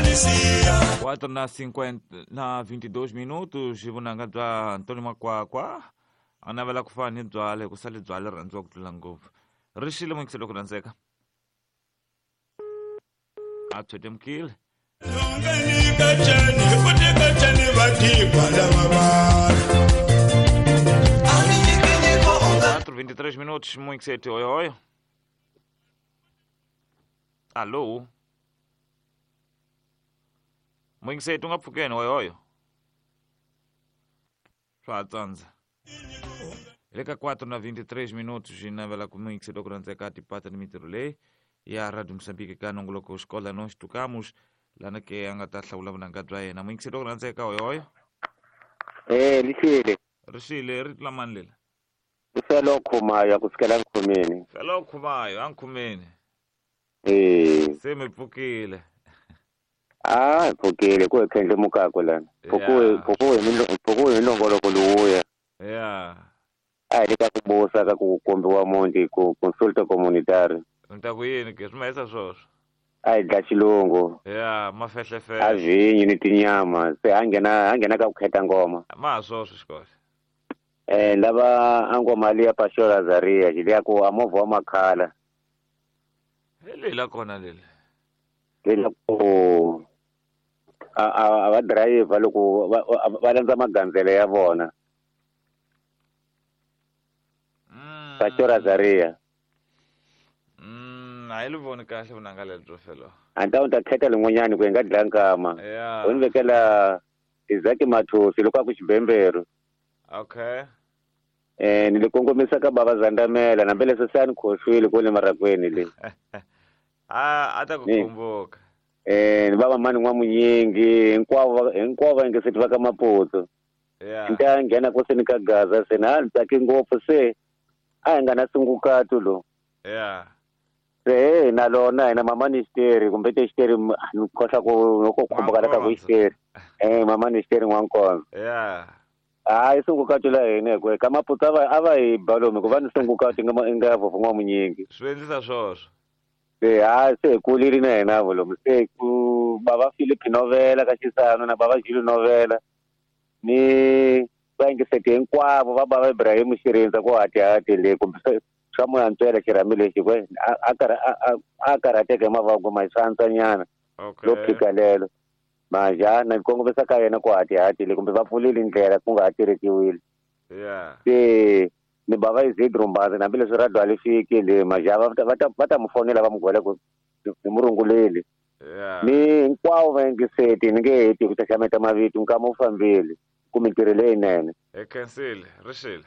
4 na 50 na 22 minutos vunanga bya Antônio Makwakwa a navela ku fana ni byale ku sale byale rhandziwa ku tlula ngopfu ri xile muyingiselo ku rhandzeka a pyetemukile Quatro, 23 minutos, muito oi, oi. Alô? Muyingiseti u nga pfukeni hoyohoyo swa ha tsandza hi le ka 4 na 23 minutos hi navela ku muyingiseti wa ku rhandzeka tipata ni mintirho leyi ya Radio Moçambique ka nongoloko xikola no xitukamus lana ke a nga ta hlawula vunanga bya yena muyingiseti wa ku rhandzeka hoyohoyo. Lixile rixile ri tlula mani lela i felo khumayo ku sukela nkhumeni felo khumayo a nkhumeni se mi pfukile. Ah, pfukile ku khendle mukako lana. Pfukuwe hi nongoloko lowuya. Yeah. A hi ka ku busa ka ku kombiwa muti ku consulta comunitary. Ni ta ku yini ke swi mahisa swoswo? A hi dla xilungu. Yeah, mafehlefehle. A vinyi ni tinyama se a nghena ka ku kheta ngoma. Ma ha swoswo xikoxe. Lava a ngoma liya Pastor Azaria liya ku a movha wa makhala. Hi leyi la kona leli. Leyi ku a va driver loko va landza magandzelo ya vona. Pastor Azaria. A hi li voni kahle vunanga lebyo felo. A ni ta khetha lin'wanyani ku hi nga dlaya nkama. U ni vekela Isaac Mathosi loko a ku xibembero. Okay. Ni le kongomisa ka bava Zandamela nambe leswi se a ni khohlwile kwale marakweni le. A ta ku kumbuka. Ni bava mani n'wamunyingi hinkwavo hinkwavo va yingiseti va ka Maputo. Yeah. Ni ta nghena ku se ni ka Gaza se na ni tsaki ngopfu se a hi nga na sungukatu lo. Yeah. Se na lona hina mama ni xiteri kumbe te xiteri ni khohla ku loko khumbuka la ka ku xiteri. Mama ni xiteri n'wankonzo. Yeah. Hayi sungukatu la hina hi ku ka Maputo a va hi balomi ku va ni sungukatu nga vhovho n'wamunyingi. Swi endlisa swoswo. Se ha se hi kulile na hina volomu se ku bava Philip Novela ka Xisano na bava Julu Novela ni va yingiseti hinkwavo va bava Ibrahim Xirindza ku hatihati le kumbe swa moya ntswela xirhami lexi ku a karhateka hi mavoko ma swantswanyana lo phika lelo manje na kongomisa ka yena ku hatihati le kumbe va pfulile ndlela ku nga ha tirhisiwile. Se ni bava Isidro Mbazi hambileswi ra dwale fiki le manje va ta mu fonela va mu gwela ku ni murunguleli. Ni hinkwavo va yingiseti ni nge heti ku xaxameta mavito nkama wu fambile ku mintirho leyinene. Hi khensile rixile.